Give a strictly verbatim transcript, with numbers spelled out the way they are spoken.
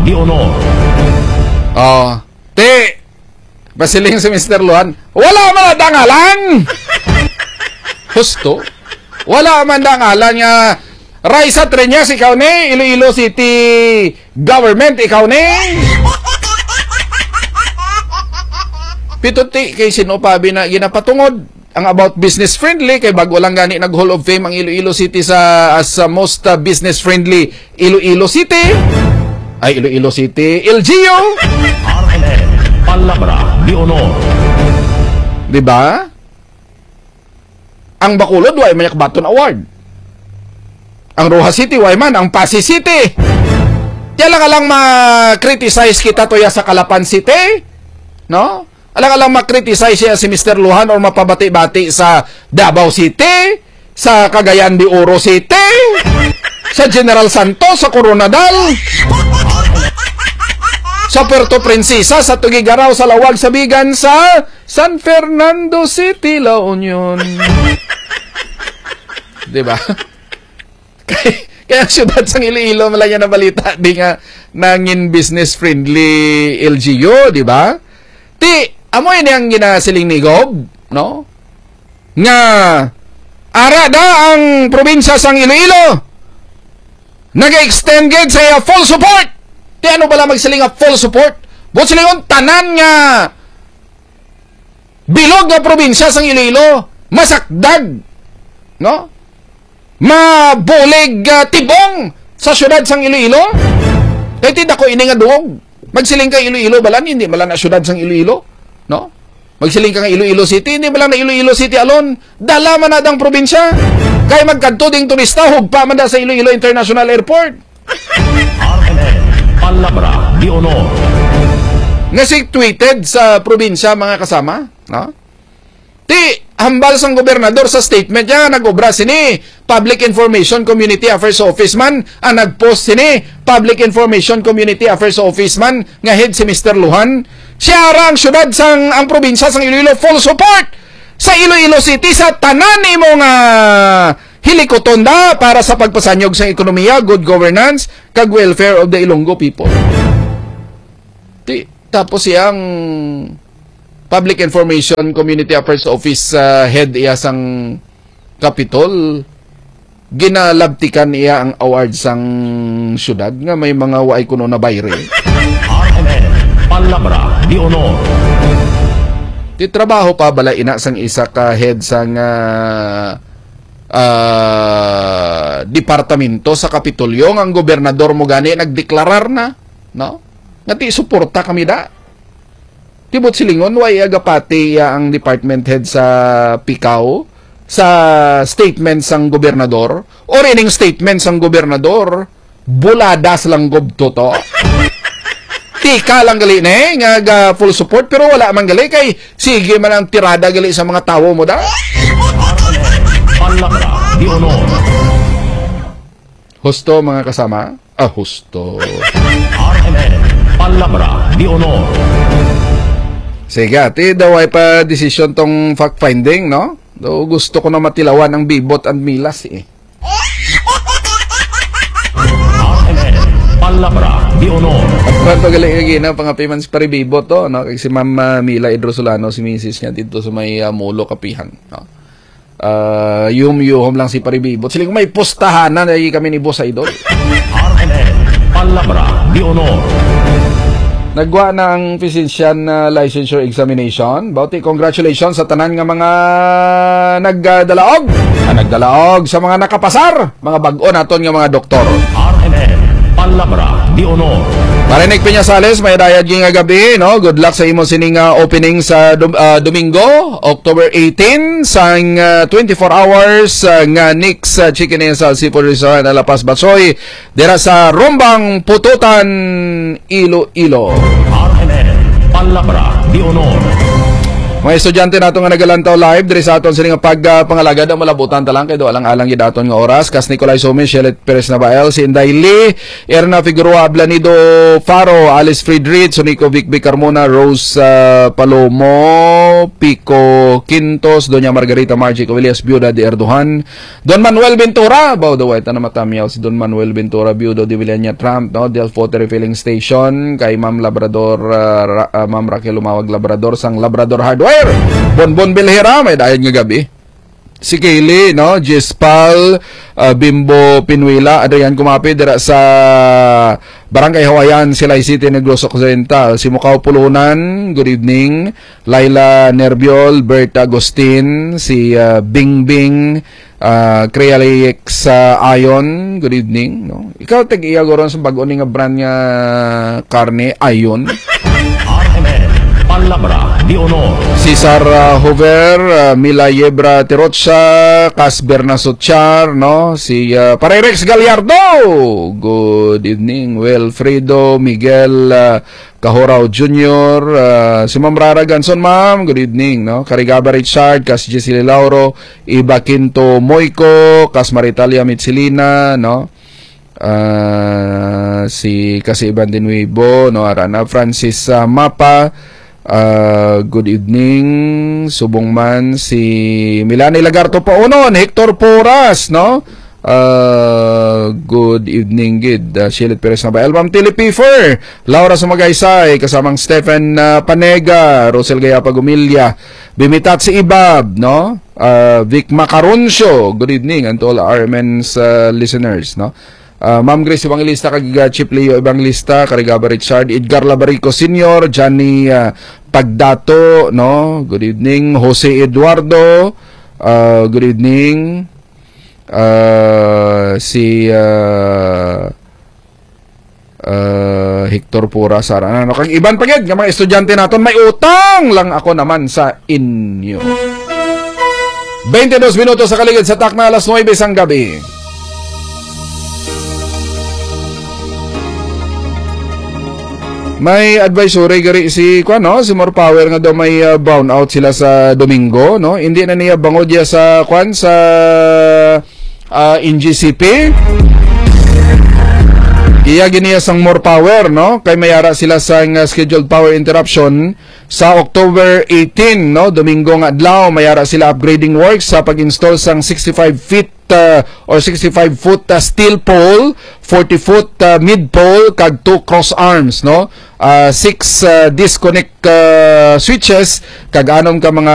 Di Honor. Oh, ti, pasiling si Mister Luhan, wala man ang dangalan! Husto. Wala man dangalan nga Raisa Treñas, ikaw ni, Iloilo City Government, ikaw ni. Pito ti, kay sino pa bina-, ginapatungod ang about business friendly, kay bago lang gani nag Hall of Fame ang Iloilo City sa, as sa most, uh, business friendly Iloilo City. Ay, Iloilo City, L G U. R N N, Palabra de Honor. Di ba? Ang Bacolod, way man Baton Award. Ang Roxas City, way man. Ang Passi City. Kaya lang, alang ma-criticize kita to ya sa Calapan City, no? Alang-alang ma-criticize siya si Mister Luhan or mapabati-bati sa Davao City, sa Cagayan de Oro City, sa General Santos, sa Koronadal, sa Puerto Princesa, sa Tuguegarao, sa Laoag, sa Vigan, sa San Fernando City, La Union. Di ba? Kay, kay ang siyudad sang Iloilo, malaya na balita, di nga nangin business friendly L G U, di ba? Ti, amo ini ang ginasiling ni Gob, no? Nga, ara da ang probinsya sang Iloilo, nag-extend gid sa iya full support. Ti, ano bala magsiling nga full support? Buot silingon, tanan nga bilog nga probinsya sang Iloilo, masakdag, no? Mabulig, ah, tibong sa siyudad sang Iloilo. Kay ti dako ini nga duog. Magsiling ka Iloilo, balan, hindi bala na siyudad sang Iloilo, no? Magsiling ka nga Iloilo City, hindi bala na Iloilo City alone. Dala man na dang probinsya. Kay magkadto ding turista, hugpa man da sa Iloilo International Airport. R N N, Palabra de Honor. Nga si tweeted sa probinsya, mga kasama, no? Ti, hambal sang gobernador sa statement niya, nag-obra sini, Public Information Community Affairs Office man, ang nag-post sini, Public Information Community Affairs Office man, nga head si Mister Luhan. Siya ra ang syudad sang, ang probinsya sang Iloilo, full support sa Iloilo City sa tanan nimo nga hilikuton da para sa pagpasanyog sang ekonomiya, good governance, kag welfare of the Ilonggo people. Ti, tapos iyang Public Information Community Affairs Office, ah, head iya sang Capitol, ginalabtikan iya ang award sang syudad nga may mga waay kuno na bayre. R N N, Palabra de Honor. Ti trabaho pa bala ina sang isa ka head sang, ah, ah, departamento sa Kapitolyo nga ang gobernador mo gani nagdeklarar na, no? Nga ti suporta kami da. Ti buot silingon, wa iya gapati iya ang department head sa Picao sa statement sang gobernador, or ining statement sang gobernador, buladas lang gubto to. Tika lang gali ni nga ga full support, pero wala man gali kay sige man ang tirada gali sa mga tawo mo da. Palabra de Honor. Husto, mga kasama? Ah, husto. R N N, Palabra de Honor. Sige, ati daw ay pa desisyon tong fact-finding, no? Daw gusto ko na matilawan ang Bibot and Milas, eh. R N N, Palabra de Honor. At kwanto gali nga gina, pangapiman si Pare Bibot to, no? Kag si Ma'am, ah, Mila Idrosulano, si misis niya dito sa may, ah, Molo, Kapihan, no? Ah, yum-yuhom lang si Pare Bibot. Sila kung may pustahanan, ay kami ni Boss Idol. R N N, Palabra de Honor. Nagwa na ang physician, ah, licensure examination. Bauti, congratulations sa tanan nga mga nagdalaog. Nga nagdalaog sa mga nakapasar. Mga bag-o naton nga mga doktor. R N N, Palabra de Honor. Marinig Peñasales, may dayad nga gabi, no? Good luck sa imo sining, ah, opening sa Dom-, ah, Domingo, October eighteen, sang, ah, twenty-four hours, ah, nga Nick's, ah, Chicken Inn sa Seafood Restaurant, La Paz, Batsoy, dira sa Rombang Pututan, Iloilo. R N N, Palabra de Honor. Mga estudyante nato nga nagalantaw live diri sa aton sini nga pag, ah, pangalagad, ang malabutan ta lang kay do alang-alang gid aton nga oras. Kas Nicolay Sumis, Shelet Perez Nabael, si Inday Lee, Erna Figueroa Ablanido Faro, Alice Friedrich, Sonico Vic Vic Carmona, Rose, ah, Palomo, Pico Quintos, Doña Margarita Margie Cabillas, Biuda de Erdohan, Don Manuel Ventura, baw daw ay ta na matamyaw si Don Manuel Ventura, Biudo de Villania Trump, no? Del Pote Refilling Station, kay Ma'am Labrador, ah, Ra-, ah, Ma'am Raquel Lumawag Labrador, sang Labrador Hardware. Bonbon Bilhera, may dayon nga gabi. Si Kaylee, no? Jespal, ah, Bimbo Pinuela, Adrian Kumapi, dira sa Barangay Hawayan, Silay City, Negros Occidental. Si Mukaw Pulunan, good evening. Laila Nerbiol, Bert Agustin, si, ah, Bingbing, ah, Crealix, ah, Ayon, good evening, no? Ikaw, tag-iya guro sa bag-o ni nga brand nga karne, Ayon. R M N, Palabra de Honor. Si Sarah Hover, ah, Mila Yebra Tirocha, Cas Berna Suchar, no? Si, ah, Pare Rex Gallardo. Good evening, Wilfredo Miguel, ah, Kahorao Junior, ah, si Ma'am Rara Ganson, ma'am, good evening, no? Karigaba Richard, Kas Gisele Lauro, Iba Quinto Moico, Kas Maritalia Mitsilina, no? Ah, si Kasi Iban de Nuevo, no? Arana Francis, ah, Mapa, ah, good evening. Subong man si Milani Lagarto Paunon, Hector Poras, no? Ah, good evening gid. Ah, Shilit Perez na ba? Album Tilly Piffer, Laura Sumagaysay, kasamang Stephen, ah, Panega, Rosel Gayapa Gumilya, Bimitat si Ibab, no? Ah, Vic Macaroncio, good evening, and to all R M N's, ah, listeners, no? Ah, Ma'am Grace Evangelista, kag, ah, Chief Leo Evangelista, Karigaba Richard, Edgar Labarico Senior, Johnny, ah, Pagdato, no? Good evening, Jose Eduardo, ah, good evening. Ah, si, ah, ah, Hector Pura, Sara, ano, kag iban pa gid nga mga estudyante naton, may utang lang ako naman sa inyo. Twenty-dos minutos sa kaligid sa takna, alas nuebe sang gabi. May advisory gari si, kuan, no, si More Power nga daw may, ah, brownout sila sa Domingo, no? Hindi na niya bangod ya sa, kuan, sa, ah, N G C P. Iya giniya sang More Power, no? Kay may ara sila sang, ah, scheduled power interruption sa October eighteen, no? Domingo nga adlaw, may ara sila upgrading works sa pag-install sang sixty-five feet, ah, or sixty-five foot, ah, steel pole, forty foot, ah, mid pole, kag two cross arms, no? Ah, six, ah, disconnect, ah, switches, kag anom ka mga